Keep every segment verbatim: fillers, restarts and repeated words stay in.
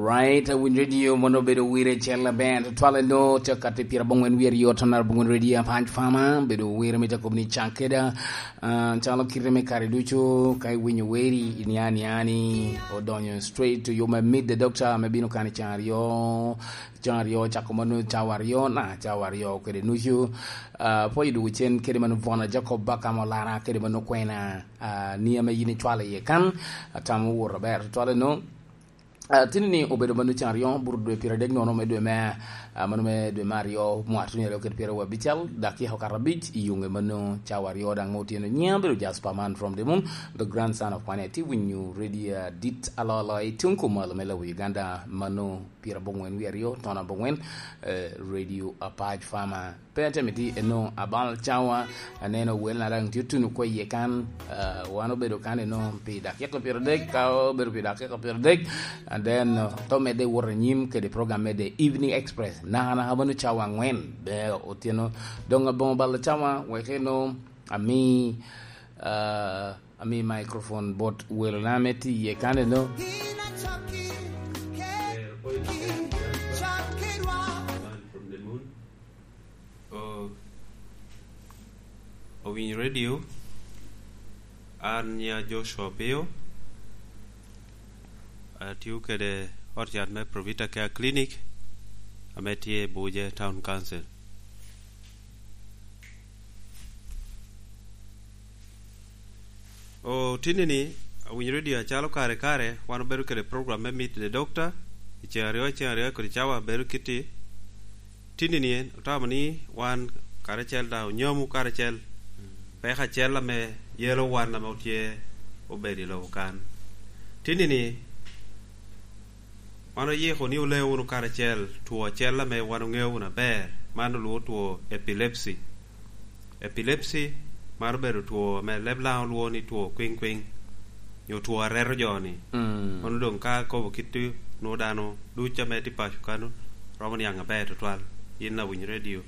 Right, Winy Radio mono obedo wire cel aber. Twale no tye kati pira bongwen wiye ryo tonal bongwen radio Apac Farmer. Bedo wire me Jacob ni Chakeda. Ah, calo kite me kare ducu, ka iwinyo weri, inia nia ni odonyo straight to yo me meet the doctor, me bino kan i can aryo, can aryo, cako mano cawa aryo, na cawa aryo kede nucu. Ah, pwoyo dugu cen kede mano Bona Jacob Bakam Olara, kede mano kwena, ah, ni ame yin icwalo iye kan, atamo wot aber. Twale no, Ah, tini ni obedo mano can aryo, buro dwe pyeradek nono me dwe me, ah, mano me dwe me aryo, mwaka tuni aryo kede pyeraryo abicel, dakika okato abic, i yunge mano cawa aryo daŋ me otyeno. Nyiŋa bedo Jasper Man from the Moon, the grandson of Kwane. Ti winyo radio dit alolo i tuŋ kumalo me lobo Uganda, mano pyera bongwen wi aryo, tona bongwen, eh, Radio Apac Farmer. Pe atye miti eno abal cawa, aneno wel na daŋ tye tuno kwe iye kan, ah, wan obedo kan eno pi dakika pyeradek, ka obedo pi dakika pyeradek, and then, uh, to medde wot anyim kede program me The Evening Express. Naka naka mano cawa angwen, be otyeno. Doŋ aboŋo bal cawa, wek eno ami, ah, ami microphone bot welona me ti iye kan eno. O-, Owiny Radio, an nya Joshua Opio, atio kede ot cat me Provita Care Clinic, ame tye i Buje Town Council. O, tini ni, Owiny Radio acalo kare kare, wan obedo kede program me Meet the Doctor, i ceŋ aryo, i ceŋ aryo kodi cawa bedo kiti. Tini ni en, otamo ni wan karacel daŋ onyomu karacel, peko acel ame yelo wan ame otye obedo i lobo kan. Tini ni, wan oyiko ni ole wunu karacel two acel ame wan oŋeo wunu aber, man olwoŋo two epilepsy. Epilepsy, man obedo two ame leb Laŋo olwoŋo ni two kwiŋ kwiŋ, nyo two areto jo-ni. Mm. Kono doŋ ka akobo kit-ti, nwoŋo dano duc ame tye paco kano, romo niaŋ aber tutwal. Yin Awiny Radio.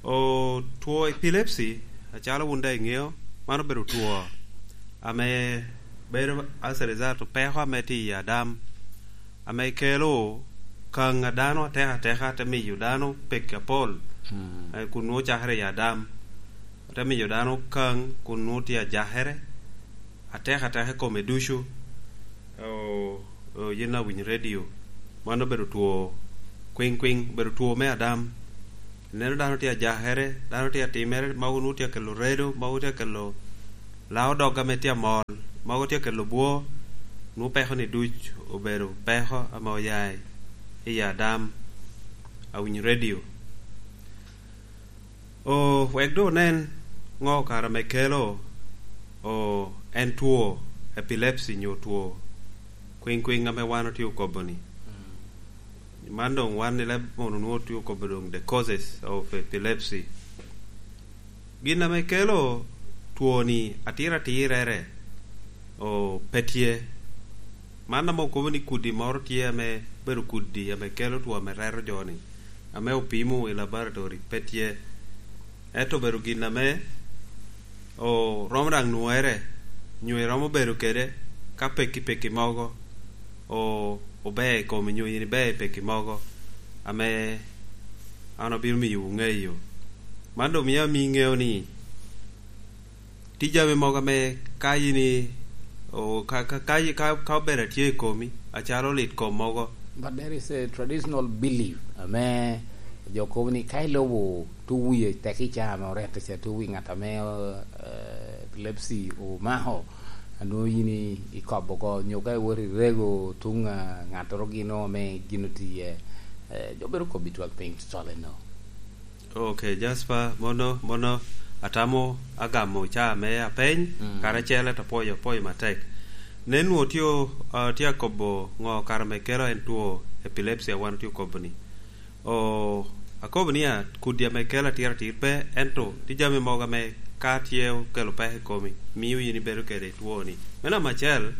O, two epilepsy, acalo wun daŋ iŋeo, man obedo two ame bedo as a result of peko ame tye i adam, ame kelo kaŋ a dano atek ateka, te miyo dano pekki apol, mm, eh, kun nwoŋo cakere i adam, te miyo dano kaŋ kun nwoŋo tye ajakere atek ateka i kome ducu. O, o, yin Awiny Radio, man obedo two kwiŋ kwiŋ, obedo two me adam. Ineno dano tye ajakere, dano tye atimere, mogo nwoŋo tye akelo redo, mogo tye akelo lao dog ame tye amol, mogo tye akelo bwo, nwoŋo peko ni duc obedo peko ame oya i, i adam. Awiny Radio. O, wek doŋ onen ŋo kare ame kelo, o, en two epilepsy nyo two kwiŋ kwiŋ ame wan otye okobo-ni. Mm. Man doŋ wan i leb mono nwoŋo otye okobo doŋ the causes of epilepsy. Gin ame kelo two-ni atiratirere, o, pe tye. Man ame okobo ni kudi moro tye ame bedo kudi ame kelo two ame reto jo-ni, ame opimo i laboratory, pe tye. Ento obedo gin ame o, romo daŋ nwoŋere, nyo iromo bedo kede ka pekki pekki mogo, o, ober i komi, nyo yin iber i pekki mogo, ame an obino miyowu ŋeyo. Man doŋ mio ami ŋeo ni tye jami mogo ame ka yin i-, o, ka, ka, ka, ka, ka obedo atye i komi, acalo lit kom mogo. But there is a traditional belief ame jo kobo ni ka ilubo tuŋ wie tek i caa ame orette ca tuŋ wi ŋat ame, eh, epilepsy omako, anwoŋo yin i-, ikobo oko, nyo ka iwot irego tuŋ, ah, ŋattoro gino ame gin oti iye, eh, jo bedo kobbi twak piny tutwal eno. Ok, Jasper, mono, mono atamo agamo caa me apeny, mm, karacel ento apwoyo, apwoyo matek. Nen nwoŋo tye o-, ah, tye akobo ŋo kare ame kelo en two epilepsy a wan otye okobo-ni. O, akobo ni a, kudi ame kelo atiratir pe, ento tye jami mogo ame ka tye okelo peko i komi, mio yin ibedo kede two-ni. Me namba acel,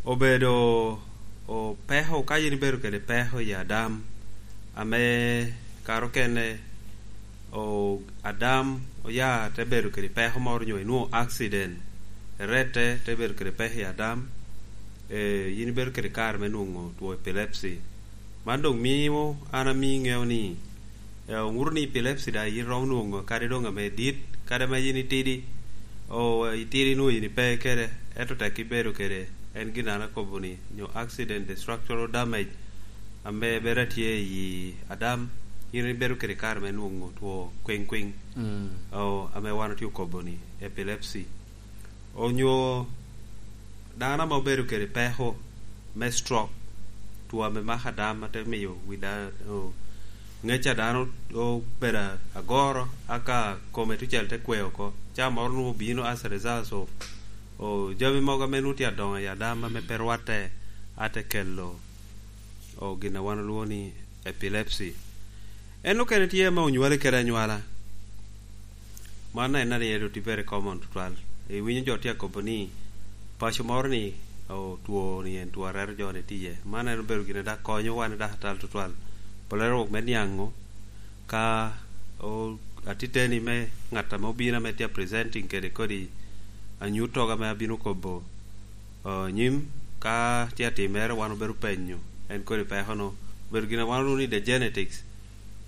obedo, o, peko, ka yin ibedo kede peko i adam, ame kare okene, o, adam oya te bedo kede peko moro nyo inwoŋo accident, erette te bedo kede peko i adam, Eh, yin ibedo kede kare me nwoŋo two epilepsy. Man doŋ mio an ami ŋeo ni, eh, oŋuto ni epilepsy daŋ yin romo nwoŋo kadi doŋ ame dit, kadi ame yin itidi, o, itidi nwoŋo yin ipe kede, ento tek ibedo kede, en gin an akobo ni, nyo accident, the structural damage, ame bedo atye i adam, yin ibedo kede kare me nwoŋo two kwiŋ kwiŋ. Mm. O, ame wan otye okobo ni, epilepsy. Onyo dano ame obedo kede peko me stroke, two ame mako adam, ate miyo wi da-, o-, ŋec a dano obedo agoro, aka kome tucel te kwe oko. Ca moro nwoŋo obino as a result of, o, jami mogo ame nwoŋo tye adoŋo i adam ame pe rwatte, ate kelo, o, gin a wan olwoŋo ni epilepsy. En okene tye ame onywale kede anywala. Man en ariyo dot very common tutwal. Iwinyo jo tye akobo ni paco moro ni, o, two ni en two a rero jo ni tye iye. Man en obedo gin a dok konyo wan i dakatal tutwal. Pole rwok me niaŋo ka, o, atiteni me ŋat ame obino ame tye presenting kede kodi anyut togo ame abino kobo, o, nyim ka tye atimere, wan obedo penyo en kodi peko no. Obedo gin a wan olwoŋo ni the genetics.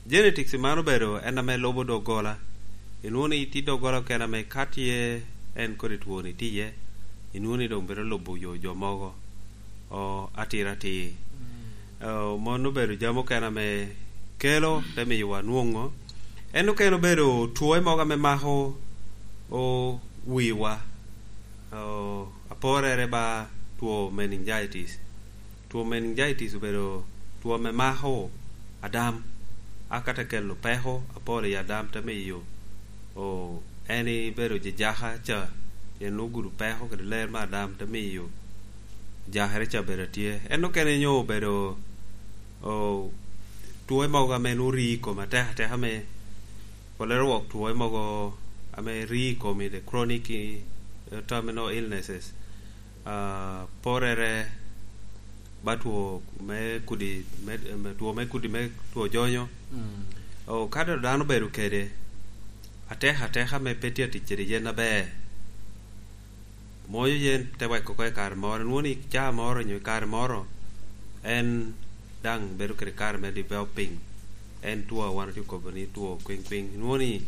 Genetics man obedo en ame lubo doggola. Inwoŋo ni tye doggola okene ame ka tye en kodi twoni tye iye, inwoŋo ni doŋ bedo lubo yo jo mogo, o, atir atir. Mm. O, mon obedo jami okene ame kelo te miyowa nwoŋo. En okene obedo twoe mogo ame mako o wiwa. O, aporere ba two meningitis. Two meningitis obedo two ame mako adam, aka te kelo peko apol i adam, te miyo, o, en ibedo jejaka ca, pien nwoŋo gudo peko kede ler me adam, te miyo jakere ca bedo atye. En okene nyo obedo, o, twoe mogo ame nwoŋo ri i kome atek ateka me, polere wok twoe mogo ame ri i komi, the chronic, eh, terminal illnesses. Ah, porere ba two me kudi, me, me, two me kudi me two jonyo. Mm. O, ka doŋ dano obedo kede atek ateka me pe tye atic kede yen aber, moyo yen te weko oko i kare moro, inwoŋo ni caa moro nyo i kare moro, en daŋ bedo kede kare me developing. En two a wan otye kobo ni two kwiŋ kwiŋ. Inwoŋo ni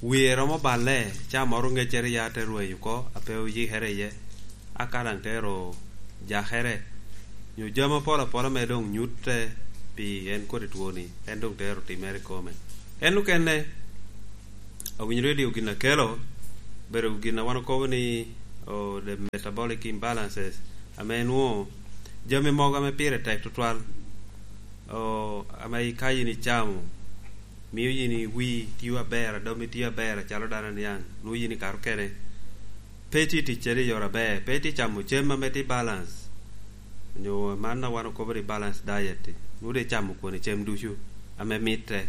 wie romo balle, caa moro ŋeccere ya te rwenyo oko, a pe oyikere iye, aka daŋ te ro jakere, nyo jami apol apola me doŋ nyutte pi en kodi twoni, en doŋ te ro timere i kome. En okene, awinyo redio gin a kelo, bedo gin a wan okobo ni, o, the metabolic imbalances, ame nwoŋo jami mogo ame pire tek tutwal, o, ame ka yin icamo, mio yin iwi tio aber, adomi tio aber, acalo dano aniaŋ, nwoŋo yin ikato kene, pe tye tic kede i yore aber, pe tye camo cem ame tye balance, nyo man a wan okobo ni balance diet, nwoŋo doŋ icamo kwone cem ducu ame mitte,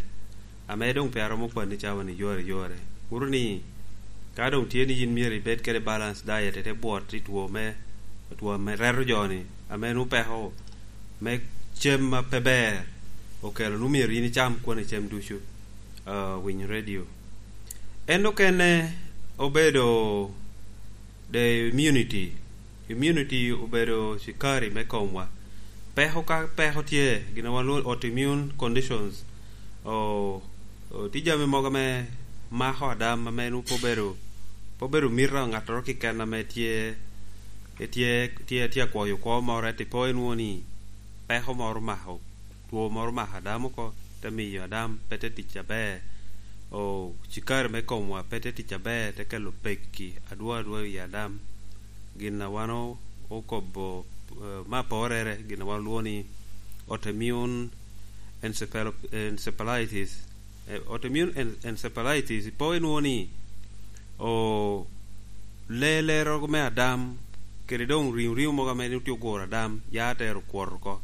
ame doŋ pe aromo kwanni cawa ni yore yore. Kuro ni, ka doŋ tye ni yin myero ibed kede balance diet, ite bwot i two me, two me reto jo-ni, ame nwoŋo peko me cem ma pe ber okelo, nwoŋo myero yin icam kwone cem ducu, ah, winyo redio. En okene obedo the immunity. Immunity obedo cikari me komwa. Peko ka peko tye, gin a wan lwongo autoimmune conditions, o, o, tye jami mogo ame mako adam ame nwoŋo pe obedo, pe obedo mito ŋattoro keken ame tye, tye, tye, tye akwoyo kwo moro, ento ipo inwoŋo ni peko moro omako, two moro omako adam oko, te miyo adam pe te tic aber. O, cikari me komwa pe te tic aber, te kelo pekki adwo adwo i adam. Gin a wan o-, okobo, eh, me aporere, gin a wan olwongo ni autoimmune encephalo-, encephalitis. Eh, autoimmune en-, encephalitis, ipo inwoŋo ni, o, le-, lero me adam, kede doŋ riŋo riŋo mogo ame tye oguro adam, ya te ro kwot oko,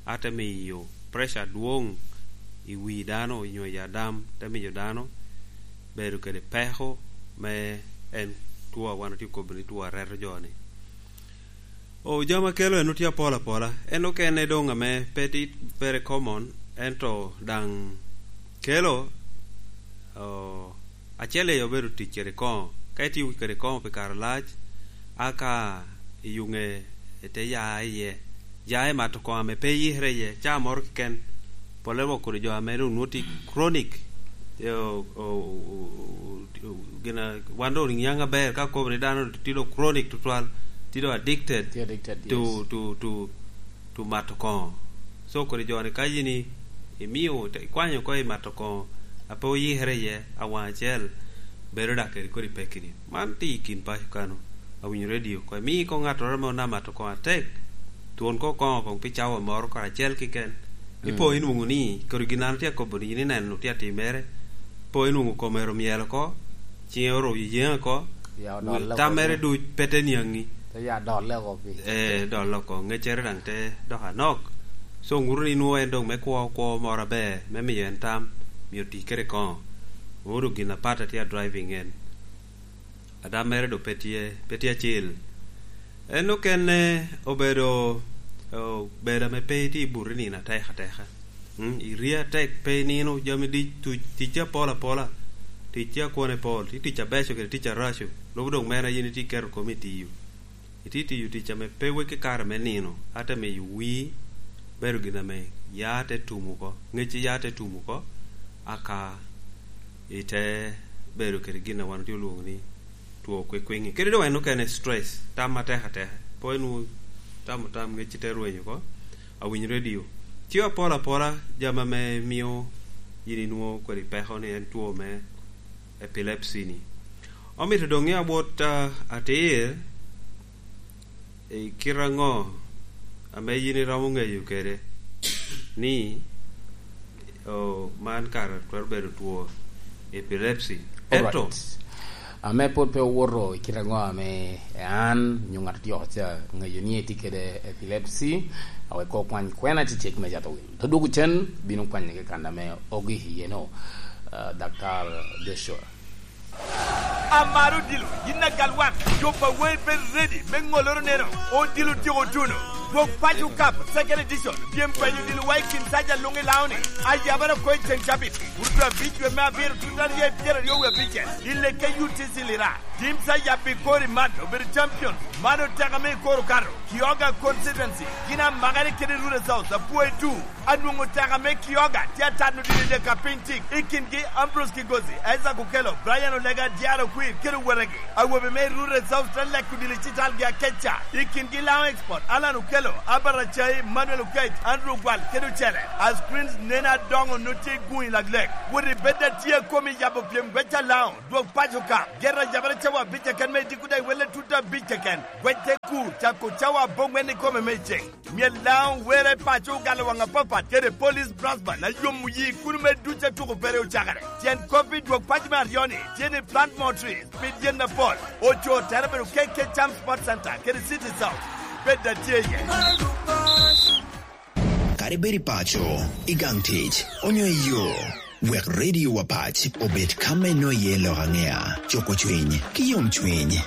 a te miyo pressure adwoŋ i wi dano, onyo i adam, te miyo dano bedo kede peko me en two a wan otye kobo ni two a reto jo-ni. O, jami a kelo en otye apol apola. En okene doŋ ame pe ti-, very common, ento daŋ kelo, o, acel i obedo tic kede koŋo. Ka itiyo kede koŋo pi kare lac, a ka iyuŋe ete ya iye, ya i mato koŋ ame pe iyikere iye, caa moro keken, pole wok kodi jo ame doŋ nwoŋo tye chronic, eh, o-, o-, o-, o-, gin a, wan doŋ niaŋ aber ka kobo ni dano tye doŋ chronic tutwal, tye doŋ addicted Tye addicted, to, yes. to, to, to mato koŋo. So kodi jo ni ka yin i-, imio, te-, ikwanyo oko i mato koŋo, a pe oyikere iye, awaŋ acel, bedo dak kede kodi pekki ni. Man tye i kin paco kano, awinyo redio oko. Imi oko ŋattoro ame onamo mato koŋo atek, twon ko koŋo koŋ pi cawa moro kara acel keken. Ipo Mm. inwoŋo ni, kodi gin an tye akobo ni yin ineno tye atimere, po inwoŋo kome ero myel oko, ciŋe oro yeyeŋ oko, Ya odol oko. Tammere duc pe te niaŋi. Te ya dol oko pi. Eh, dol oko, ŋeccere daŋ te dok anok. So, ŋuto ni nwoŋo en doŋ me kwo, kwo moro aber, me miyo en tam, miyo tic kede koŋo. Ŋuto gin apat a tye a driving en. Adam mere doŋ pe tye, pe tye acil. En okene obedo, obedo ame pe itye i buto i nino atek ateka. Mm, irie atek, pe inino, jami dic, tuc, ticci apol apola, ticci a kwone pol, ti tic abeco kede tic araco, lubo doŋ mere a yin itye iketo komi i tiyo. Itye tiyo tic ame pe weki kare me nino, ate miyo wii bedo gin ame ya te tum oko, ŋecci ya te tum oko, aka ite bedo kede gin a wan otye olwoŋo ni two kwikwiŋi. Kede doŋ en okene stress, tam atek ateka. Po inwoŋo tamo tam ŋecci te rweny oko, awinyo redio. Ci apol apola jami ame mio yin inwoŋo kodi peko ni en two me epilepsy ni. Omito doŋ ŋe awot, ah, atir, i kite aŋo ame yin iromo ŋeyo kede ni, oh, man kara twero bedo two epilepsy? Ento Alright. Ame pwod pe owoto i kite aŋo ame an nyo ŋat otyeko ca ŋeyo ni etye kede epilepsy, awek ko kwany kwena cecek me cato wil. Te dwogo cen, bino kwanye kekana ame ogi iye no, ah, Daktar Joshua. Amaro odilo, yin agal wan, jo pa wei bed ready me ŋoloro neno, odilo tyeko tuno. Dwog paco kap, second edition, pyem penyo odilo wa i kin saja luŋ i Laoni, ayabara ko i ceŋ cabit, uruto abic dwe me abiro tut aryo i pyeraryo wie abicel, i lekke U T C Lira. Teams a yabbi kor i man obedo champions, man oteka me i kor okato, Kioga constituency, gin amakere kede Rural South, apwoyo tu. Anwoŋo teka me Kioga tye atano dini dek a piny tik, i kingi Ambrose Kigozi, Isaac Okello, Brian Olega, Diaro Okwir, kede owetegi. Awobe me Rural South te leko dili citalgi akeca, i kingi Laŋo Export, Alan Okello, Albert Acai, Manuel Okech, Andrew Ogwal, kede ocele. A screens nen adoŋo no tye i guŋ i laglek. Wot i bed a tye a komi yabo pyem gweca Laŋo, dwog paco ka. Gera yabere cawa abic keken me idiko daŋ iwelle tut abic keken. Gwec te kur, cako cawa aboŋwen i kome me ceŋ. Myel Laŋo were paco ogalo waŋ apapat kede Police Brass Band a yomo yi kuno me duc a tuko pere ocakere. Tyen kop i dwog paco me aryo-ni tye ni plant more trees, pid yen mapol. Oco tere bedo K K Cham Sports Center kede City South. Bed a tye iye. Kadi bed i paco, i gang tic, onyo i yo, wek Radio Wapac obed ka me nwoŋo iye lok aŋea, cuko cwiny, ki yom cwiny.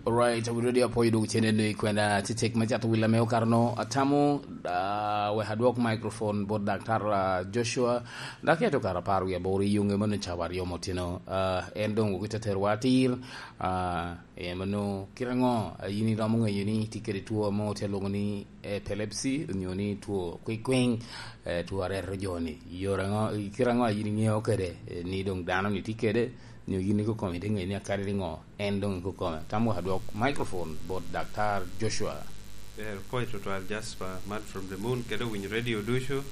Alright, awinyo dong apwoyo dwogo cen eno i kwena cecek me cato wil ame okato no. Atamo, ah, wek adwok microphone bot Daktar, ah, Joshua, dok eto kara apar wiye aboro i yunge mano cawa aryo motino. Ah, en dong wok ite terowa atir, ah, eh, mano kite aŋo, ah, yin iromo ŋeyo ni tye kede two ame otye lwoŋo ni epilepsy, onyo ni two kwikwiŋ, eh, two areto jo-ni? Yore aŋo, kite aŋo a yin iŋeo kede, eh, ni dong dano-ni tye kede, nyo yin ikokome ite ŋeyo ni akadi ni ŋo? En dong ikokome. Tam wek adwok microphone bot Daktar Joshua. Eh, pwoc tutwal Jasper, man from the moon, kede owinyo radio ducu.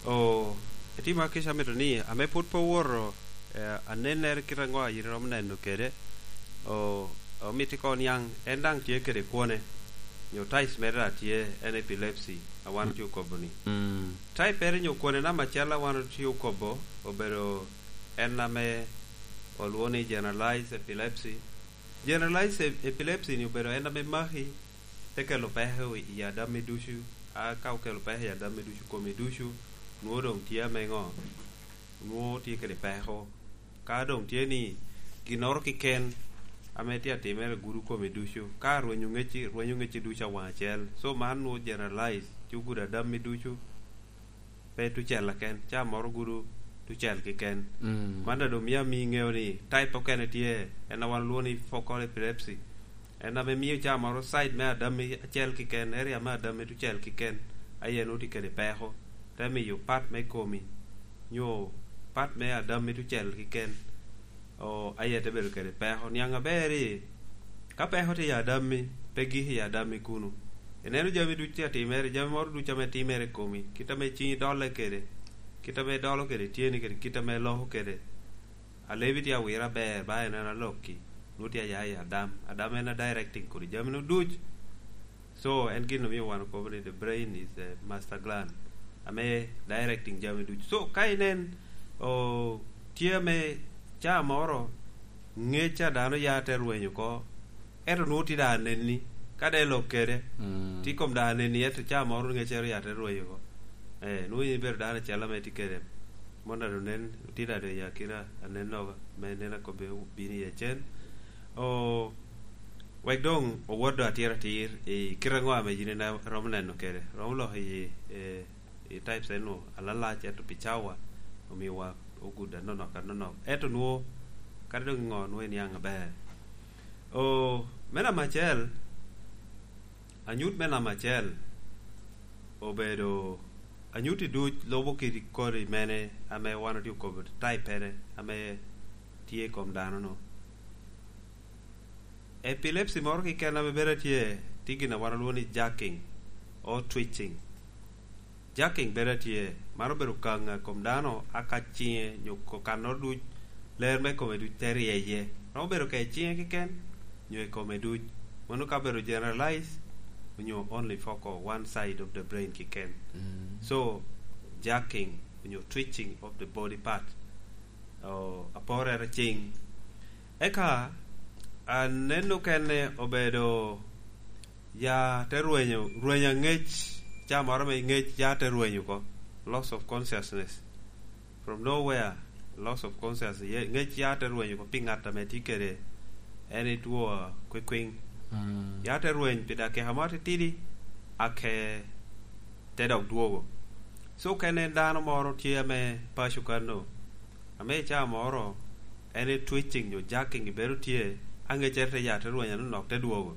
O, etima kica amito ni, ame pwod pe owoto, eh, anennere kite aŋo a yin iromo neno kede, o, omito ikoŋ niaŋ, en daŋ tye kede kwone, nyo types mere daŋ tye, en epilepsy, a wan Mm. tye okobo ni. Mm. Type ere nyo kwone namba acel a wan otye okobo, obedo en ame olwoŋo ni generalized epilepsy. Generalized ep-, epilepsy ni obedo en ame maki, te kelo peko i adammi ducu, a ka okelo peko i adammi ducu, komi ducu, nwoŋo doŋ tye ame ŋo? Nwoŋo tye kede peko. Ka doŋ tye ni ginnoro keken ame tye atimere gudo komi ducu, ka rwenyo ŋecci, rwenyo ŋecci ducu awaŋ acel. So man nwoŋo generalize, ci ogudo adammi ducu, pe tucel keken, ca moro gudo tucel keken. Mm. Man daŋ doŋ mio ami ŋeo ni type okene tye, en a wan olwoŋo ni focal epilepsy. En ame mio ca moro side me adammi acel kiken, area me adammi tucel kiken, aye nwoŋo tye kede peko, te miyo pat me komi, nyo pat me adammi tucel kiken, o, aye te bedo kede peko. Niaŋ aber-ri, ka peko tye i adammi, pe gik i adammi kuno. Ineno jami ducu tye atimere, jami moro ducu ame timere i komi, kit ame ciŋi dolle kede, kit ame idolo kede tyeni kede, kit ame iloko kede. Alebi tye awire aber, ba en en alokki, nwoŋo tye aya i adam. Adam en a directing kodi jami-nu duc. So, en gin omio wan okobo ni the brain is the master gland, ame directing jami duc. So, ka inen, o, tye ame ca moro, ŋec a dano ya te rweny oko, ento nwoŋo tye daŋ anenni, ka de lok kede, mm, tye kom daŋ anenni, ento ca moro ŋeccere ya te rweny oko. Eh, nwoŋo in ibedo dano acel ame tye kede, mon a doŋ nen, tye daŋ doŋ i akina anennogo, me nen a kobbe bino i acen. O, wek doŋ owot doŋ atir atir i kite aŋo ame yin ina-, romo neno kede, romo loko i, eh, i types eno alalac, ento pi cawa omiowa ogudo anonok anonok. Ento nwoŋo, kadi doŋ i ŋo, nwoŋo iniaŋ aber. O, me namba acel, anyut me namba acel obedo, anyutti duc lubo kit kodi mene ame wan otye okobo type-pere ame tye i kom dano-nu. Epilepsy moro keken ame bedo atye, tye gin a wan olwongo ni jerking or twitching. Jerking bedo atye, man obedo kaŋ a kom dano, a ka ciŋe nyo ko-, kannoro duc, ler me kome duc te ryeye. Romo bedo ka i ciŋe keken, nyo i kome duc. Mano ka obedo generalize, onyo only focal, one side of the brain keken. Mm. So, jerking, onyo twitching of the body part. O, aporere ciŋ. Eka, anen okene obedo ya te rwenyo, rwenyo aŋec, ca moro me ŋec ya te rwenyo oko. Loss of consciousness. From nowhere, loss of consciousness. Ye-, ŋec ya te rwenyo oko pi ŋat ame tye kede en i two a kwikwiŋ. Mm. Ya te rweny pi dakika mo atitidi, ake te dok dwogo. So, ka en dano moro tye ame paco kanno, ame i caa moro en i twitching nyo jerking bedo tye, aŋeccere te ya te rweny anonok te dwogo,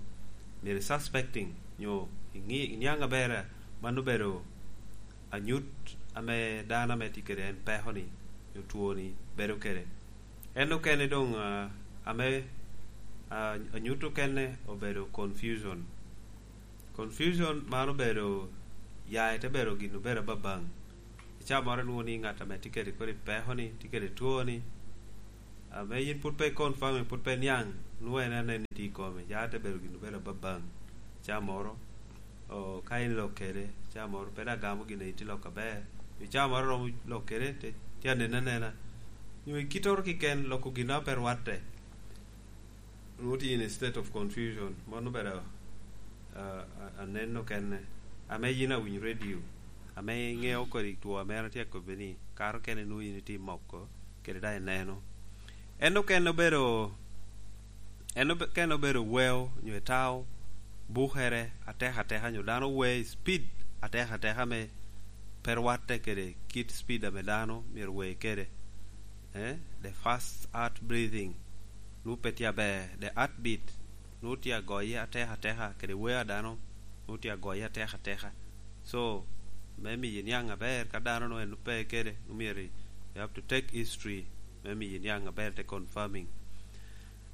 myero i suspecting nyo iŋi-, iniaŋ aber, mano obedo anyut ame dano ame tye kede en peko-ni nyo two-ni bedo kede. En okene doŋ, ah, ame, ah, anyut okene obedo confusion. Confusion man obedo, ya ite bedo gin obedo ababaŋ. I caa moro inwoŋo ni ŋat ame tye kede kodi peko-ni, tye kede two-ni, ame yin pwod pe i confirm, pwod pe niaŋ, nwoŋo en aneni tye i kome, ya te bedo gin obedo ababaŋ. Caa moro, o, ka in ilok kede, caa moro pe daŋ gamo gin a itye lok aber. I caa moro romo lok kede, te, tye anen anena. Nyo i kittoro kiken, loko gin a pe rwatte. Nwoŋo tye in a state of confusion. Mano obedo, a, a, aneno kene. Ame yin awinyo radio, ame iŋeo kodi two ame an atye akobbi ni, kare okene nwoŋo in itye moko, kede daŋ ineno. En okene obedo, en obe-, okene obedo weo nyo etao, bukere atek ateka, nyo dano weo i speed atek ateka ame pe rwatte kede kit speed ame dano myero weo kede. Eh, the fast heart breathing, nwoŋo pe tye aber, the heartbeat, nwoŋo tye agoye atek ateka, kede weo a dano, nwoŋo tye agoye atek ateka. So, me miyi niaŋ aber, ka dano nwoŋo en pe kede, nwoŋo myero you have to take history, me miyi niaŋ aber te confirming.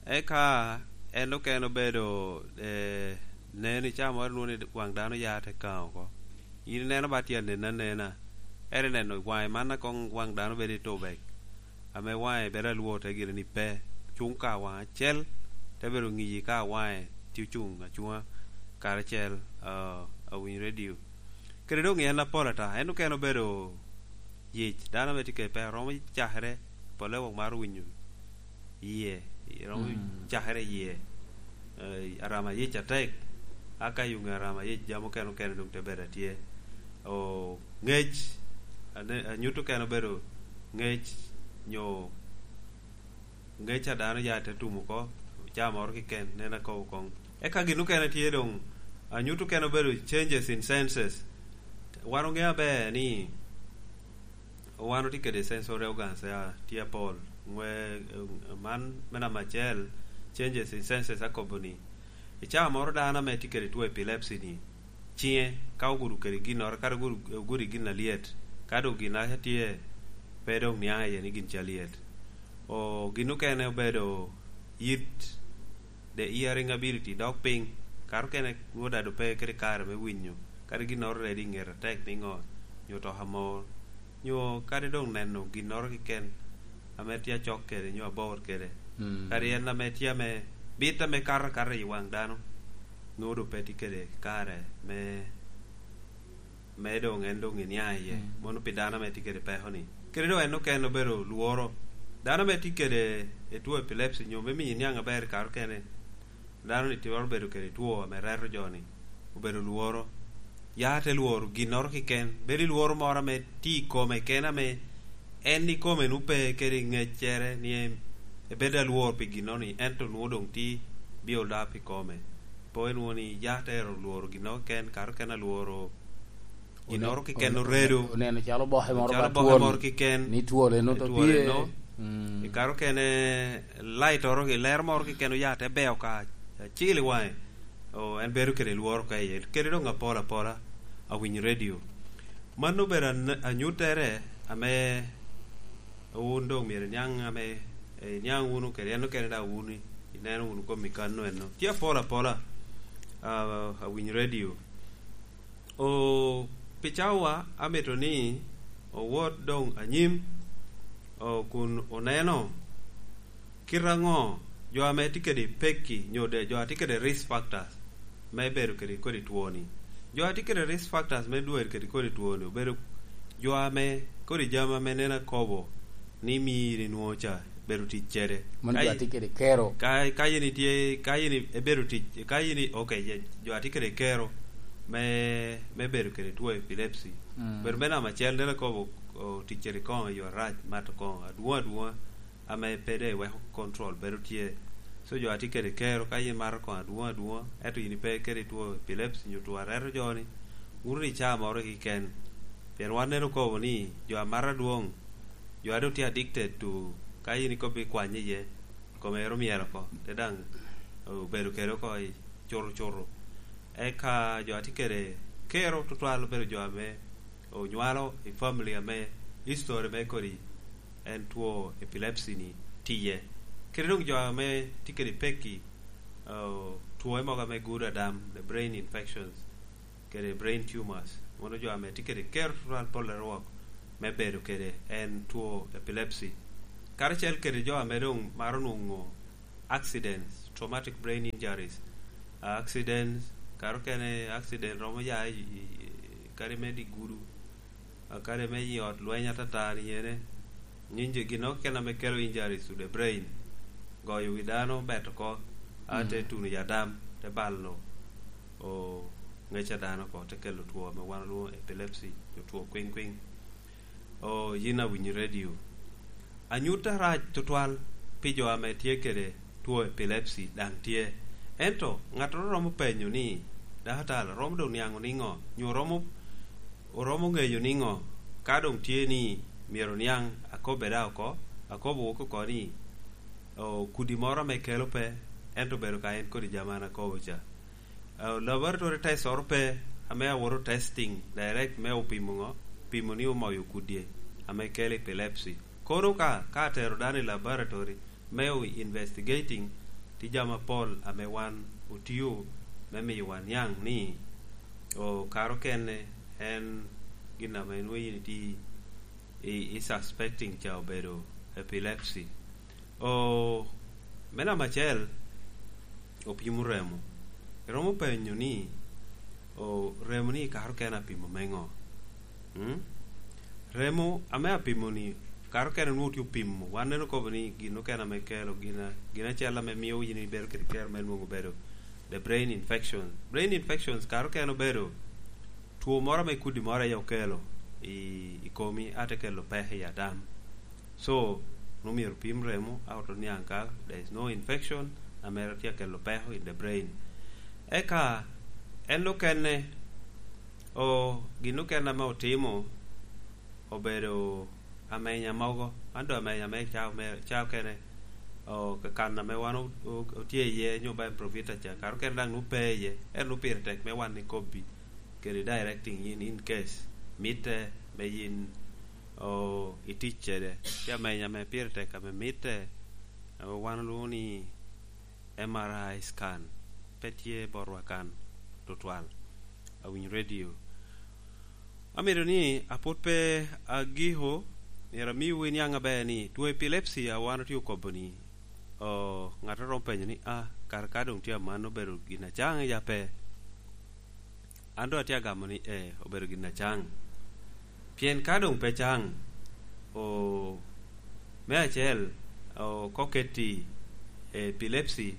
Eka en okene obedo, eh, neno i caa moro nwoŋo ni waŋ dano ya te kaŋ oko. In ineno ba tye anen anena. Ere neno waŋe man a koŋ waŋ dano bedo i tubek, ame waŋe bedo alwor te gire ni pe, cuŋ ka waŋ acel, te bedo ŋiyi ka waŋe tye ocuŋ acuŋa karacel, ah, awiny radio. Kede doŋ en apol ata, en okene obedo yic, dano ame tye kede peko romo cakere, pole wok maro winyo yie, romo, mm, cakere yie, eh, arama yic atek, aka yuŋe arama yic jami okene okene doŋ te bedo atye. O, ŋec, ane-, anyut okene obedo ŋec, nyo ŋec a dano ya te tumo oko, caa moro kiken, nen akobo koŋ. Eka gin okene tye doŋ, anyut okene obedo changes in senses. Wan oŋeo aber ni, wan otye kede sensory organs, ya, tye apol. Ŋwe, eh, man me namba acel, changes in senses akobo ni, I caa moro dano ame tye kede two epilepsy-ni, ciŋe ka ogudo kede ginnoro, kadi ogudo, ogudo i gin alyet, ka doŋ gin aca tye, pe doŋ niaŋ iye ni gin ca lyet. O, gin okene obedo yit, the hearing ability, dok piny, kare okene nwoŋo dado pe kede kare me winyo, kadi ginnoro ready i ŋete atek niŋo, nyo to amor, nyo kadi doŋ neno ginnoro keken ame tye acok kede, nyo abor kede. Mm. Kadi en ame tye ame bit ame kato akata i waŋ dano, nwoŋo doŋ pe tye kede kare me, me doŋ en doŋ iniaŋ iye. Mm. Mono pi dano ame tye kede peko-ni. Kede doŋ en okene obedo lworo. Dano ame tye kede two epilepsy, nyo me miyo iniaŋ aber i kare okene, dano-ni twero bedo kede two ame reto jo-ni, obedo lworo. Ya te lworo ginnoro keken. Bedo i lworo moro ame tye i kome kene, ame en ikome nwoŋo pe kede ŋeccere ni en ebedo alwor pi ginno-ni, ento nwoŋo doŋ tye biol da pi kome. Po enwoŋo ni ya te ero lworo ginnoro keken, kare okene alworo ginnoro keken oredo. Oneno calo oboke moro keken. Ni twol eno to tye. Mm. I kare okene, light oro, i lero moro keken oya te beo ka acil i waŋe. O, en bedo kede lworo ka iye. Kede doŋ apol apola, awinyo radio. Mano obedo an-, anyuttere ame wun doŋ myero iniaŋ ame, eh, iniaŋ wunu kede en okene daŋ wun i-, ineno wunu kom i kanno eno. Tye apol apola, ah, awinyo radio. O, pi cawa amito ni owot doŋ anyim, o, kun oneno kite aŋo jo ame tye kede pekki, nyo de jo a tye kede risk factors me bedo kede kodi twoni. Jo a tye kede risk factors me dwero kede kodi twoni obedo jo ame kodi jami ame neno akobo ni miri nwoŋo ca bedo tic kede. Mano jo a tye kede kero. Ka, ka in itye, ka in i-, ibedo tic, ka in i-, ok, ye, jo a tye kede kero me, me bedo kede two epilepsy. Mm. Bedo me namba acel, neno akobo, o, tic kede koŋo i yo arac, mato koŋo, adwoŋ adwoŋa, ame pe doŋ iweko control bedo tye. So jo a tye kede kero, ka in imato koŋo adwoŋ adwoŋa, ento in ipe kede two epilepsy, nyo two areto jo-ni, wun i caa moro keken. Pien wan neno akobo ni jo a mato adwoŋ, jo a doŋ tye addicted to, ka in ikobbi kwany iye, kome ero myel oko, te daŋ obedo kede oko i curucuru. Eka jo a tye kede kero tutwal obedo jo ame onywalo i family ame history me kodi en two epilepsy-ni tye iye. Kede doŋ jo ame tye kede pekki, o, two mogo ame gudo adam, the brain infections, kede brain tumors. Mono jo ame tye kede kero tutwal pol arwok me bedo kede en two epilepsy. Karacel kede jo ame doŋ maro nwoŋo accidents, traumatic brain injuries. Ah, accidents, kare okene accident romo ya i, i, i, kadi me di gudu, ah, kadi me i ot lweny atata ni ene. Injury, ginnoro keken ame kelo injuries to the brain. Goyo wi dano, beto oko, a te tuno i adam, te balo, o, ŋec a dano oko, te kelo two ame wan olwoŋo epilepsy, nyo two kwiŋ kwiŋ. O, yin awinyo radio. Anyut arac tutwal pi jo ame tye kede two epilepsy daŋ tye. Ento ŋattoro romo penyo ni, "Daktar, romo doŋ niaŋ oniŋo? Nyo romo, oromo ŋeyo niŋo? Ka doŋ tye ni myero oniaŋ, akobbe da oko, akobo woko oko ni, o, kudi moro ame kelo pe, ento bedo ka en kodi jami an akobo ca." Ah, laboratory test oro pe, ame awoto testing direct me opimo ŋo? Pimo ni omoyo kudi ame kelo epilepsy. Kono ka, ka atero dano i laboratory me o investigating, tye jami apol ame wan otio me miyo wan niaŋ ni, o, kare okene en gin ame nwoŋo in itye i, i suspecting ca obedo epilepsy. O, me namba acel, opimo remo. Iromo penyo ni, o, remo ni kare okene apimo me ŋo? Mm? Remo ame apimo ni, kare okene nwoŋo tye opimo. Wan neno kobo ni gin okene ame kelo, gin a-, gin acel ame mio in ibedo kede kero me nwoŋo bedo the brain infection. Brain infections kare okene obedo two moro ame kudi moro aye okelo i, i komi, a te kelo peko i adam. So, nwoŋo myero opim remo, a oto niaŋ ka there is no infection, ame tye akelo peko in the brain. Eka, en okene, o, gin okene ame otimo, obedo amenya mogo, man doŋ amenya me ca, me ca okene, o, ka kan ame wan o-, o-, otye iye, nyo ba en profita ca, kara okene daŋ nwoŋo pe iye, ento nwoŋo pire tek me wan ikobbi kede directing yin in case mitte me yin, o, itic kede. Tye ameny ame pire tek ame mitte, ame wan olwoŋo ni M R I scan, pe tye botwa kan tutwal. Awinyo radio. Amito ni apwod pe agiko, myero amiwu iniaŋ aber ni two epilepsy a wan otye okobo ni, o, ŋat a romo penyo ni, "Ah, kara ka doŋ tye aman obedo gin acaŋ ya pe?" An doŋ atye agamo ni, "Ee, obedo gin acaŋ." Pien ka doŋ pe caŋ, o, me acel, o, ka oketti epilepsy,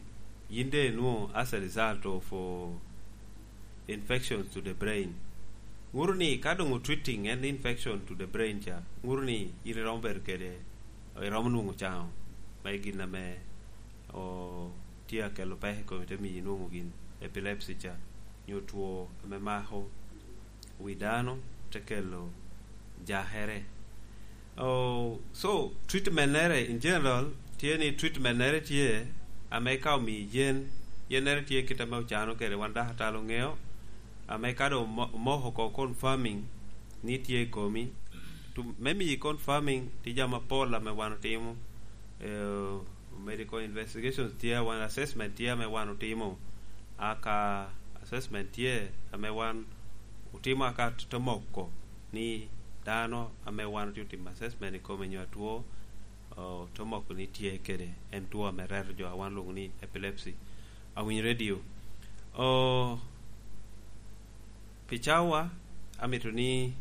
yin doŋ inwoŋo as a result of, o, infections to the brain. Ŋuto ni ka doŋ otreating en infection to the brain ca, ŋuto ni yin iromo bedo kede, iromo nwoŋo caŋo, ma i gin ame, o, tye akelo peko i komi, te miyi nwoŋo gin epilepsy ca, nyo two ame mako wi dano, te kelo jakere. Oh, so, treatment-nere in general tye ni treatment-nere tye ame ka omii yen, yennere tye kit ame ocano kede wan dakatal oŋeo, ame ka doŋ omo-, omoko oko confirming ni tye i komi, to, me miyi confirming tye jami apol ame wan otimo, eh, medical investigations tye, wan assessment tye ame wan otimo, aka assessment tye ame wan otimo aka t-, te moko ni dano ame wan otye otimo assessment i kome nyo atwo, o, te moko ni tye kede en two ame reto jo a wan lwoŋo ni epilepsy. Awinyo radio. O, pi cawa, amito ni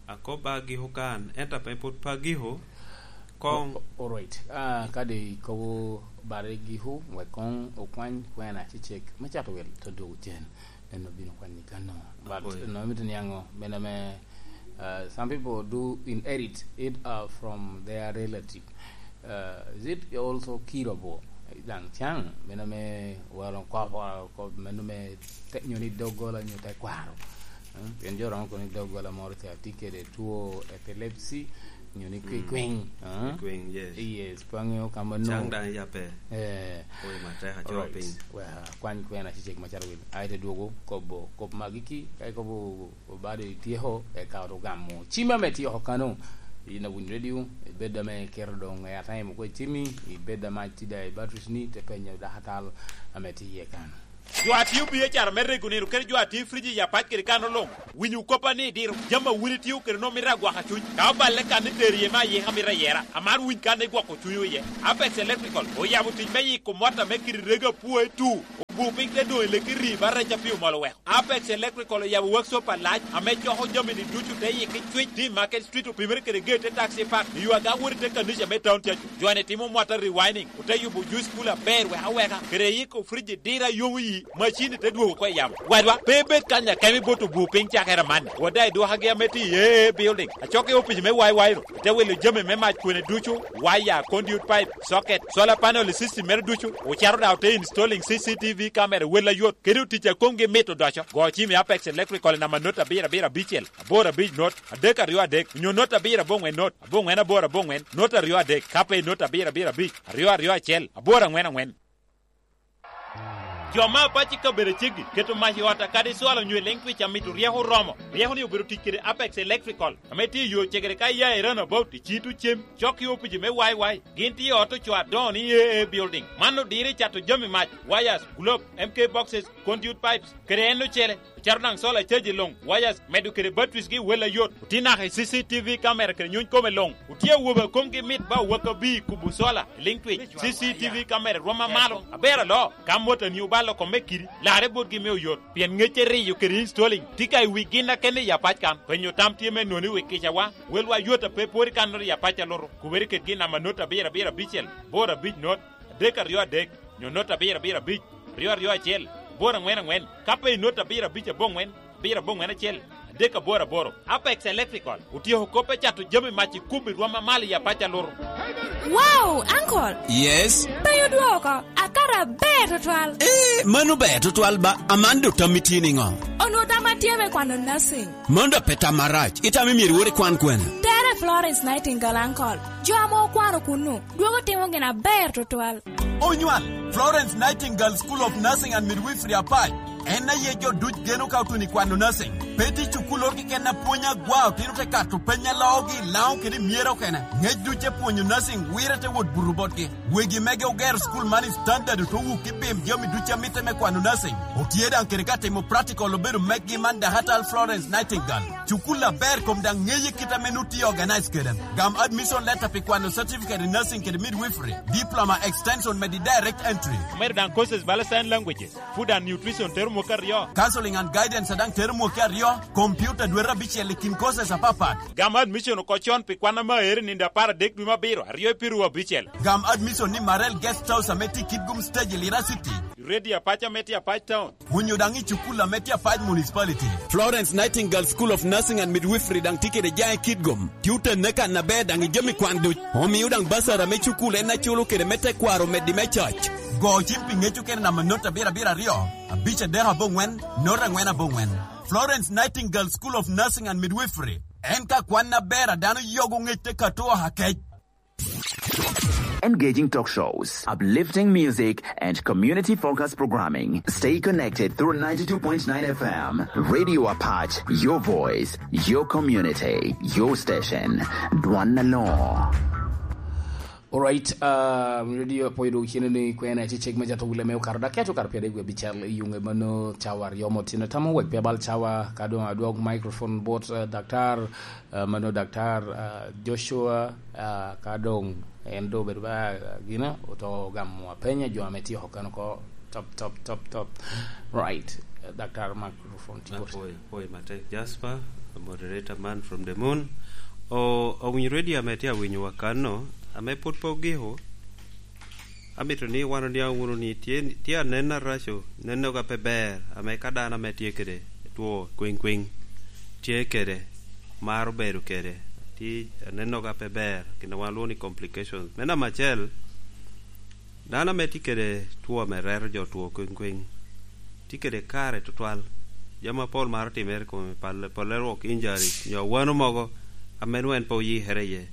akob ba agiko kan, ento ame pwod pe agiko, koŋ. O-, o-, all right. Ah, kadi ikobo bade giko, wek koŋ okwany kwena cecek me cato wil te dwogo cen. En obino kwanyi kano. But Apoyo. No, mito niaŋo, mene me, uh, some people do inherit it, uh, from their relative. Uh, is it also curable? Daŋ caŋ, meno me walo kop, uh, kop, meno me te-, nyo ni doggola, nyo tekwaro. Uh, pien jo romo kono ni doggola moro ca tye kede two epilepsy, nyo ni Mm. kwikwiny, uh? Kwikwiny, yes. Yes, pe aŋeo ka ma Caŋ nwoŋo. Daŋ iya pe. Eh. Oyo matek, acoo Alright. Piny. Well, kwany kwena cecek macalo wil. Aye te dwogo kobo, kop magi ki, ka ikobo obado ityeko, eka oto gamo cim ame tye oko kano. In awinyo radio, ibed ame iketo doŋ airtime oko i cimmi, ibed ame acida i batteries ni, te penyo dakatal ame tye iye kano. Jo a tio B H R me rego nino, kede jo a tio friji i apac kede kano luŋ, winyo koppa ni diro, jami a wun itio kede nwoŋo mito agwaka cuny. Ka oballe kan ni tero iye me ayika mito ayera, amaro winy kan igwoko cunywu iye. Apex Electrical oyabo tic me yiko mot ame kite rego apwoe tu. Obu piny te doŋ i leki rii ba rec a pi omol oweko. Apex Electrical oyabo workshop alac ame coko jami-ni ducu te yikki cwic, te i Market Street opimere kede gate te taxi park, i yo aga wot i te kanica me town cacu. Jo-ni timo mwatta rewinding, ote yubo juice cooler aber wek aweka, kede yiko fridge dira yomo yi, macin-ni te dwogo oko i yamo. Wadwa, pe ibed kany akemo ibot obu piny cakere amanni. Wada idwokagi ame tye i A A building, acok i opic me Y Y ru, ite wilo jami me mac kwene ducu, waya, conduit pipe, socket, solar panel i system mere ducu, ocato daŋ ote installing C C T V camera wel ayot, kede otic a komgi mit odoco. Go cim i Apex Electrical i namba not abiro abiro abicel, aboro abic not, adek aryo adek, onyo not abiro aboŋwen not, aboŋwen aboro aboŋwen, not aryo adek, ka pe i not abiro abiro abic, aryo aryo acel, aboro aŋwen aŋwen. Jo me apac i kabedo aceggi keto mac i ot akadi cwalo onyo i liŋ twic amito ryeko oromo. Ryeko-ni obedo tic kede Apex Electrical, ame tye i yo cegere ka iya i Runabout i Cito Cem, cok i opici me Y Y. Gin tye i ot ocoo adoŋo ni A A Building. Man odiro i cato jami mac, wires, globe, M K boxes, conduit pipes, kede en ocele. Ocato daŋ solar charge i luŋ, wires, medo kede batteries gi wel ayot. Otye naka i C C T V camera kede nyuny kome luŋ. Otye awobe a komgi mit ba owak abir kubo solar i liŋ twic. C C T V camera rwom amalo. Aber aloo, ka mot a nio balo kome kidi, larre botgi me oyot. Pien ŋecce riyo kede installing tye ka i wi gin akene i apac kan. Penyo tam tye me noni wi kicawa. Welwa yot a pe pwod i kan not i apac a lutu. Kubere kedgi i namba not abiro abiro abicel, boro abic not, adek aryo adek, nyo not abiro abiro abic, aryo aryo acel, aboro aŋwen aŋwen, ka pe i not abiro abic aboŋwen, abiro aboŋwen acel, adek aboro aboro. Apex Electrical otyeko kop me cato jami mac i kubbi rwom amalo i apac a lutu. Wow, Uncle! Yes? Pe odwoko, akato aber tutwal. Eh, mano ber tutwal ba, aman do tammi tye niŋo? Onwo tamma tye me kwano nursing. Mano da pe tam marac, itamo myero iwot ikwan kwene? Tere Florence Nightingale Uncle. Jo ame okwano kunnu, dwogo timo gin aber tutwal. Onywal, Florence Nightingale School of Nursing and Midwifery Apac. En aye jo duc geno ka otuno i kwano nursing. Pe tye cukul oro keken a pwony agwa, otino te kato peny a loogi i Laŋo kede i Myera okene. Ngec duc te pwonyo nursing, wire te wot buto botgi. Wegi mege ogero cukul man i standard, ote wuki bim jami duc a mitte me kwano nursing. Otye daŋ kede ka timo practical obedo meggi man Dakatal Florence Nightingale. Cukul aber kom daŋ ŋeye kit ame nut tye organize kede. Gam admission letter pi kwano certificate in nursing kede midwifery, diploma extension med i direct entry. Omedo daŋ courses bala sign languages, food and nutrition tero mwaka aryo. Counseling and guidance a daŋ tero mwaka aryo, computer dwete abicel i kin courses apapat. Gam admission oko con pi kwan ame aero i nino apar adek dwe me abiro, aryo i piru abicel. Gam admission ni Marel Guest House ame tye i Kitgum Stage i Lira City. Radio Apac ame tye Apac Town. Onyo daŋ i cukul ame tye Apac Municipality. Florence Nightingale School of Nursing and Midwifery daŋ tye kede jaŋ i Kitgum. Tye otenne kan aber daŋ i jami kwan duc. Omio daŋ basara me cukul en aculo kede me tekwaro meddi me coc. Go cim pi ŋec okene namba not abiro abiro aryo, abic adek aboŋwen, not angwen aboŋwen. Florence Nightingale School of Nursing and Midwifery. En ka kwan aber a dano yogo ŋec te kato oha kec. Engaging talk shows, uplifting music, and community-focused programming. Stay connected through ninety-two point nine F M. Radio Apac, your voice, your community, your station. Dwan na law. Alright, uh, radio apoyo dog chine ni kwena ci cek me jato wule me okaro da keto kar pede gwe bichal i yunge mano cawa ryomo tino tamo wek pe bal cawa ka dong adwog microphone bot, uh, daktar, uh, mano daktar, uh, Joshua, uh, ka dong en do bedo ba, uh, gina oto gamo apenya jo ame tye okano ko top, top, top, top. Right, uh, daktar Mark. Microphone tye bot. Apoyo, apoyo matek, Jasper, moderator man from the moon. O, owinyo radio ame tye awinyo wa kanno, ame pwod pe ogiko, amito ni wan oniaŋ wunu ni tye, tye anen araco, nenoga pe ber, ame ka dano ame tye kede two kwiŋ kwiŋ, tye kede, maro bedo kede, tye anenoga pe ber, gin a wan lwongo ni complications. Me namba acel, dano ame tye kede two ame reto jo two kwiŋ kwiŋ, tye kede kare tutwal. Jami apol maro timere i kome, pal-, polle rwok injuries, nyo awano mogo ame nwoŋo en pe oyikere iye.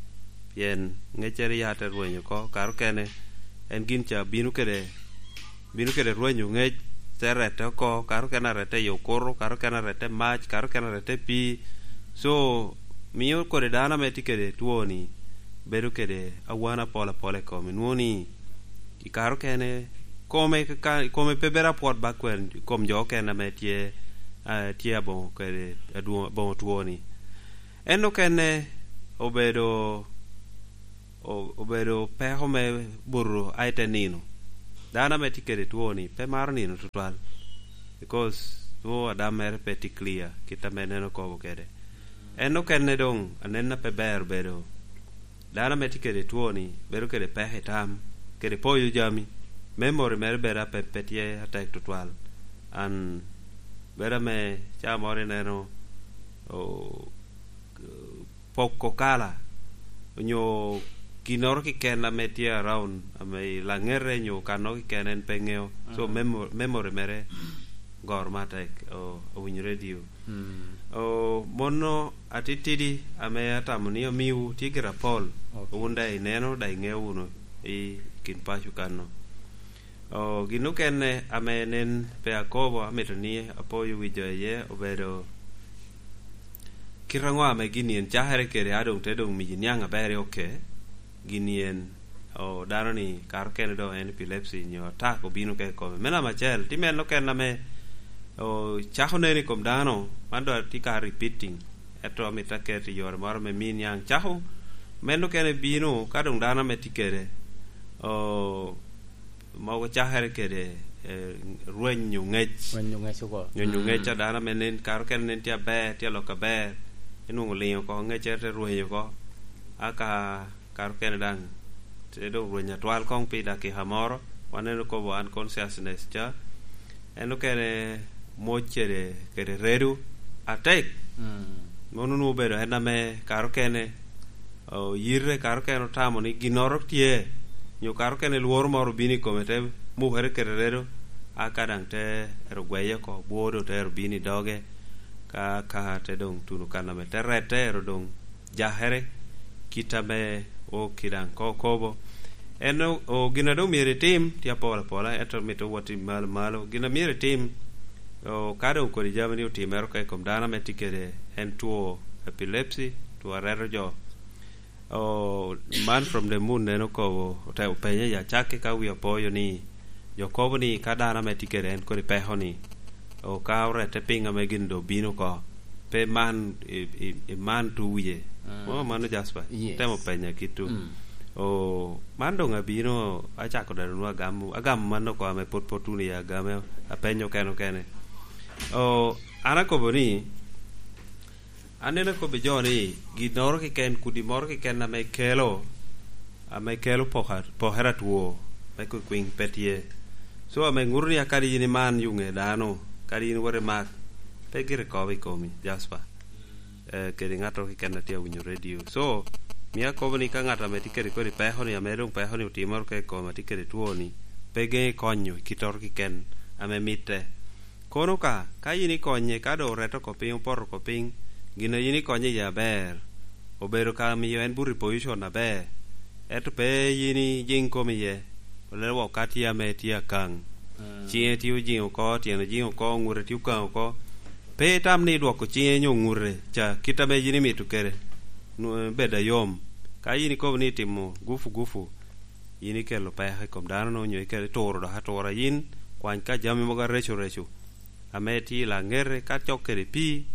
Pien ŋeccere ya te rweny oko, kare okene en gin ca bino kede, bino kede rwenyo ŋec, te rette oko, kare okene arette i okuto, kare okene arette i mac, kare okene arette i pii. So, mio kodi dano ame tye kede two-ni bedo kede awano apol apol i kome. Nwoŋo ni, i kare okene, kome ka, kome pe bedo apwot ba kwer, kom jo okene ame tye, eh, tye aboŋo kede adwoŋ-, aboŋo two-ni. En okene obedo, o-, obedo peko me buto a i te nino. Dano ame tye kede two-ni pe maro nino tutwal, because nwoŋo adam mere pe tye clear, kit ame en okobo kede. En okene doŋ, anenna pe ber bedo. Dano ame tye kede two-ni bedo kede peko i tam, kede poyo jami. Memory mere bedo ape-, pe tye atek tutwal. An bedo ame ca moro ineno, o-, poko kala, onyo ginnoro keken ame tye around, ame i laŋete nyo kannoro keken en pe ŋeo. So, memo-, memory mere goro matek, o-, owinyo radio. Mm. O, mono atitidi ame atamo ni amiwu tye gire apol. Ok. Wun daŋ ineno, daŋ iŋeo wunu i kin paco kanno. O, gin okene ame nen pe akobo, amito ni apoyo wi jo iye obedo kit aŋo ame gin en cakere kede, a doŋ te doŋ miyi niaŋ aber i oke. Gin en, o, dano ni kare okene doŋ en epilepsy nyo attack obino ka i kome. Me namba acel, tye meno okene ame, o, cako neno i kom dano, man doŋ tye ka repeating. Ento amito aket i yore moro me mi niaŋ cako. Meno okene bino ka doŋ dano ame tye kede, o, mogo cakere kede, eh, rwenyo ŋec. Rwenyo ŋec oko. Rwenyo ŋec a dano ame nen, kare okene nen tye aber, tye alok aber. Enwoŋo oliŋo oko, ŋeccere te rwenyo oko. Aka kare okene daŋ, te doŋ rweny atwal koŋ pi dakika moro, wan en okobo unconsciousness ca. En okene moc kede, kede redo atek. Mm. Mono nwoŋo obedo en ame kare okene, o, yite kare okene otamo ni ginnoro tye, nyo kare okene lworo moro obino i kome te mukere kede redo, aka daŋ te ero gweye oko, bwo doŋ te ero bino i doge, ka, ka te doŋ tuno kan ame te rette ero doŋ jakere. kit ame o kida ko kobo. En o, o, gin a doŋ myero itim, tye apol apola, ento mito wot i malo malo. Gin a myero itim, o, ka doŋ kodi jami ni otimere oko i kom dano ame tye kede en two epilepsy, two areto jo. O, man from the moon en okobo, ote-, openye i acakki ka wi opoyo ni, jo kobo ni ka dano ame tye kede en kodi peko ni, o, ka orette piny ame gin doŋ obino oko, pe man, i, i, i man tu wiye. Mm. Mo mano, Jasper? Yes. Temo penya kit tu. Mm. O, man doŋ abino, acako dano nu agamo, agamo man oko ame pwod, pwod tuno i agame, apenyo kene kene. O, an akobo ni, Aneno akobbi jo ni, ginnoro keken, kudi moro keken ame kelo, ame kelo poka-, pokere atwo, me kwikwiny pe tye. So, ame ŋuto ni a kadi in iman yo ŋe dano, kadi in iwot i mak, pe gire kobo i komi, Jasper. Eh, kede ŋattoro keken a tye awinyo redio. So, mio akobo ni ka ŋat ame tye kede kodi peko ni, ame doŋ peko ni otimoro ka i kome, tye kede two ni, pe geŋe konyo i kittoro keken ame mitte. Kono ka, ka in ikonye, ka doŋ orette oko piny, opoto oko piny, gin a in ikonye iye aber, obedo ka miyo en buto i position aber, ento pe in ijiŋ komi iye, olelo wok ka tye ame tye akaŋ. Mm. Ciŋe tye ojiŋ oko, tyene ojiŋ oko, ŋute tye okaŋ oko. Pe itam ni idwoko ciŋe nyo ŋute ca kit ame in imito kede, nwo-, bed ayom. Ka in ikobo ni itimo gufu gufu, in ikelo peko i kom dano-nu, onyo ikelo ituro dok atura. Yin kwany ka jami mogo areco reco ame tye i laŋete, ka cok kede pii,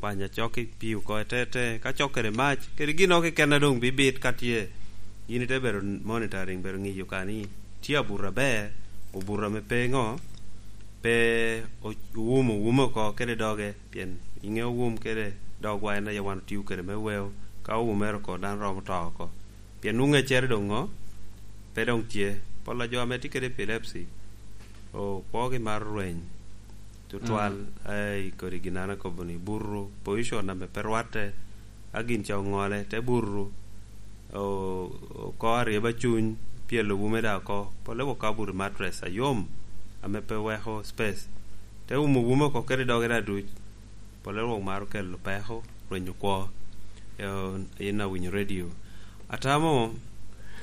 kwany acok i pii oko etete, ka cok kede mac, kede gin oko keken a doŋ bibit ka tye. Yin ite bedo monitoring, bedo ŋiyo ka ni tye abuto aber, obuto ame pe ŋo, pe o-, owumo, owumo oko kede doge, pien iŋeo wum kede dogwa en aye wan otio kede me weo, ka owumere oko dano romo to oko. Pien nwoŋo ŋeccere doŋ ŋo? Pe doŋ tye. Pol a jo ame tye kede epilepsy, okwogi maro rweny. Tutwal, mm, ai, kodi gin an akobo ni, buto, position ame pe rwatte, a gin ca oŋole, te buto, o-, oko aryeba cuny, pyelo wume da oko, pole wok ka obuto i mattress ayom, ame pe weko space. Te umo wume oko kede doge da duc, Pole rwok maro kelo peko, rwenyo kwo. Eh, in awinyo redio. Atamo,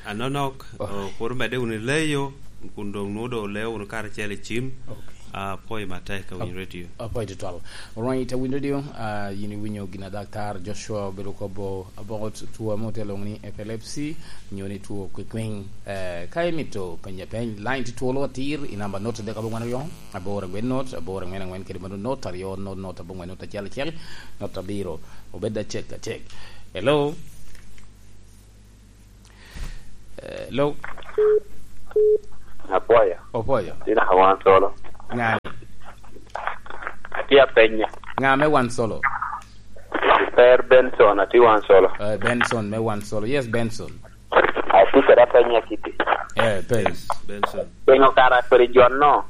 anonok, oh, oh, kur omedde wunu i leyo, kun doŋ nwoŋo doŋ oleo wunu karacel i cim. Ok. Ah, apwoyo matek awinyo redio. Apwoyo tutwal. Alright, awinyo redio, ah, yin iwinyo gin a Daktar Joshua obedo kobo about two ame otye lwoŋo ni epilepsy, nyo ni two kwikwiny. Eh, ka imito penye peny, line tye twolo atir i namba not adek abongwen aryo. Aboro angwen not, aboro angwen angwen kede mano not, aryo not not, abongwen not, acel acel, not abiro. Obed acek acek. Hello? Hello? Apwoyo. Opwoyo. Ina ka wan solo. Ŋa? Atye apenya. Ŋa me wan solo? Per Benson, atye wan solo. Eh, Benson me wan solo. Yes, Benson. Acucere apenye kiti. Eh, peny. Yes, Benson. Pingo kara kodi jo-no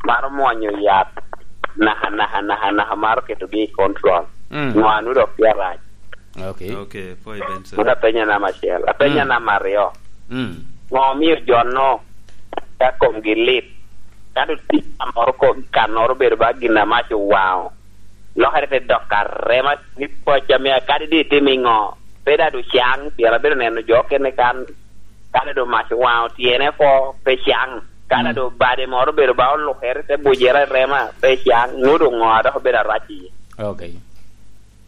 maro mwonyo yat naka, naka, naka, naka maro ketogi i control? Mm. Ŋo anu dok tye arac? Ok. Ok, pwoyo Benson. Mano apenye namba acel. Apenye, mm, namba aryo. Mm. Ŋo omio jo-no ka komgi lit, ka doŋ tye ka moro ko-, kannoro obedo ba gin amac owaŋo, lokere te dok arema ni paco ame kadi doŋ itimo iŋo, pe daŋ doŋ caŋ, pien abedo neno jo okene kan, kadi doŋ mac owaŋo tyene oko, pe caŋ, kadi, mm, doŋ bade moro obedo ba olukere te bujere arema, pe caŋ, nwoŋo doŋ ŋo a dok obedo arac iye. Ok.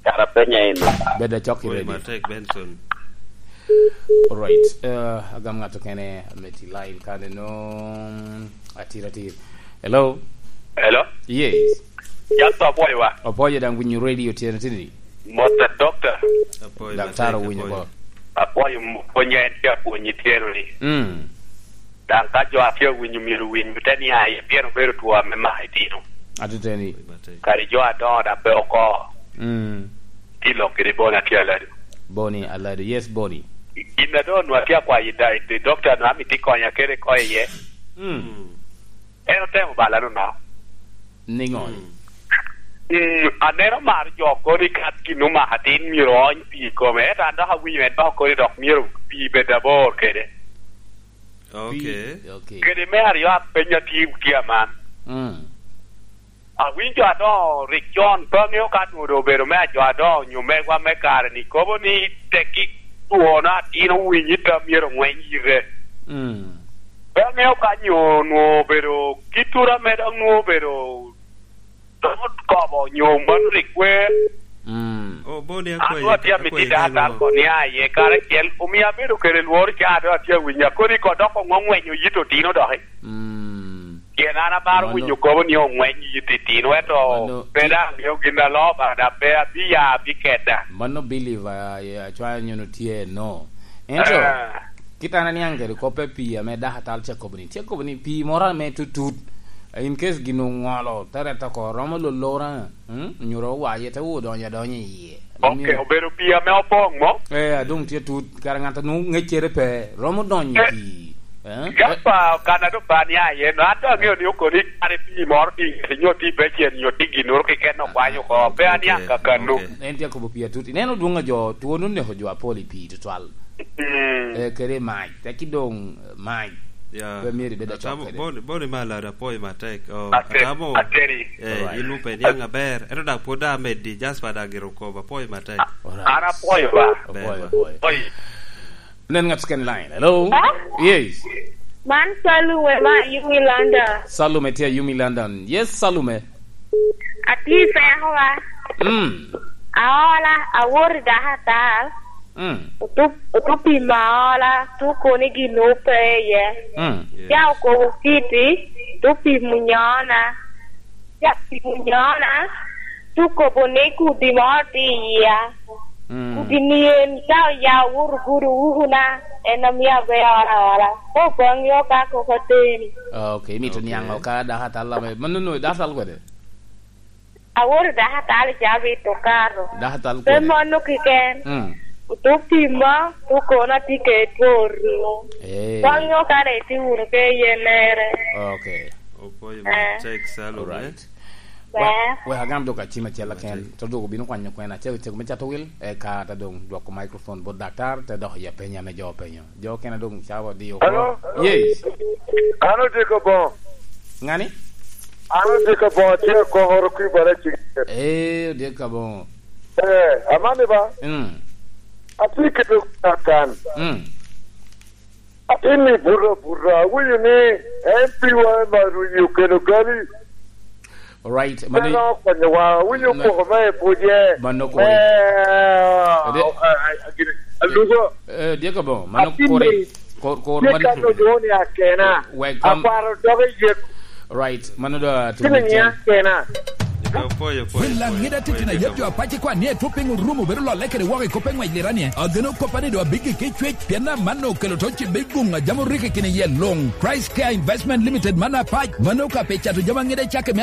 Kara penya eno. Bed acok i ready. Matek, Benson. Alright. Eh, agam ŋat okene ame tye line kane no. Atir, atir. Hello? Hello? Yes. Just apwoyo wa. Apwoyo daŋ winyo radio tyen atini. Mot a doctor. Apwoyo, Daktar matek, owinyo apwoyo. Bo. Apwoyo m-, pwony en tye apwonyi tyero ni. Mm. Daŋ ka jo atye awinyo myero winy te nia iye, pien obedo two ame mako itino. Atiteni. Kadi jo adoŋo daŋ pe oko. Mm. Tye lok kede Boni atye alado. Boni alado. Yes, Boni. Gin a doŋ onwoŋo atye akwayo i da-, i doctor no, amito ikonya kede ko iye. Mm. En otemo bala nono. Niŋo? Mm. Mm, aneno mar jo kono i kat gin omako atin myero oony pii i kome. Ento an dok awinyo en dok kono dok myero pii bed abor kede. Ok. Pii, ok. Kede me aryo apenyo atye, tye aman. Mm. Awinyo jo adoŋo rik con, pe aŋeo ka nwoŋo doŋ obedo me ajo adoŋo nyo megwa me kare-ni, kobo ni tekki twona atin owiny i tam myero ongweny yite. Mm. Pe amiyo ka nyo onwo obedo kit tura me dok nwo obedo dok okobo nyo mano rik wer. Mm. Oh, Boni, an akwayi, dok atye amito akwayi daa dano tal ko ni aye karacel, omio abedo kede lworo ca dok atye awinyo akoni ko dok ongo ngwenyo yit otino doki. Mm. Pien an amaro winyo kobo ni ongweny yit itino, ento pe daŋ amio gin alo Obaŋa, daŋ pe abiya abikeda. Mano believe, ah, yeah, acwaya nyono tye, no. Ento, ah, kit an aniaŋ kede kop pe pii ame dako atal ca kobo ni, tye kobo ni pii moro ame tutut, in case gin oŋolo, te rette oko, romo lolora, mm, nyoro owaye, te odonyo adonya i yie. Ok, obedo pii ame opoŋ mo? Eh, adong tye tut, kara ŋat a nwoŋo ŋeccere pe, romo donyo i pii. Eh? Gapa, kan a doŋ pe aniaŋ iye, no, an doŋ aŋeo ni okoni kare pii moro tye i ŋete, nyo tye i becen, nyo tye ginnoro keken okwanyo oko, pe aniaŋ kakano. Ok. En tye akobo pii atut. Ineno dwoŋ a jo, twon oneko jo apol i pii tutwal. Mm. Eh, kede i mac, teki doŋ, eh, mac. Ya. Pe myero ibed acok kede. Boni, Boni Malado, apwoyo matek. Oh, atamo, ateri. Eh, in pe iniaŋ aber. Ento daŋ pwod daŋ ameddi, Jasper daŋ gire okobo, apwoyo matek. An apwoyo ba. Ber ba. Apwoyo, apwoyo. Oy. Nen ŋat keken line. Hello? Eh? Yes. Man Salume ma Yumi London. Salume tye Yumi London. Yes, Salume. Atye i peko wa. Mm. Aola, awoto i dako atal. Mm. Otup, otup pimo aola, tuko ni gin ope iye. Mm. Yes. Ca okobo kiti, tup pimo nyona. Ca pimo nyona, tuko bo ni kudi moro tye i yia. Mm. Kudi ni en, ca oya owoto gudo ukuna, en omio abedo aola aola. Ko Obaŋa yo ka koko ateni. Ah, ok, imito niaŋ ka dako atal ame, mano no, dako atal kwede? Awoto dako atal i cabit okato. Dako atal kwede? Pe mono keken. Mm. Otup pimo, tuko na tye kede two ringo. Eh. Koŋ nyo ka dong itye wunu ke iye mere. Ok. Opwoyo matek, Salume. Alright. Ber. Wek, wek agam dok acim acel aken, to dok obino kwanyo kwena, cego, cego me cato wil, eka te dong dwoko microphone bot daktar, te dok i apenya ame jo openyo. Jo okene dong cawa odiyo oko. Hello? Yes. An Odiko Boŋo. Ŋani? An Odiko Boŋo, atye i Kokoro, Kwibara, Cigit. Eh, Odiko Boŋo. Eh, amani ba? Mm. Atye kede kan. Mm. Atin ni buto abuta, awinyo ni M P wa me Marunyi okelo gali. Alright, mano. Pe dok okonyowa, awinyo poko me buje. Mano kore. Eh, alugo. Eh, dyeka bo, mano kore. Kor, kor mano kore. Akena. Wek kom. Akwaro doge yek. Right, mano da tumo cen. Kena. Wel Laŋet atitino a yam jo apac ikwan ni etwo piny orumo bedo lolle kede woko i kop eŋwec liranie. Ageno koppa ni do abigik i cwec, pien amanno okelo to cibbe guŋ a jam oriko i kine yel luŋ. Christ Care Investment Limited man apac, mano ka pe cato jami aŋet acakki me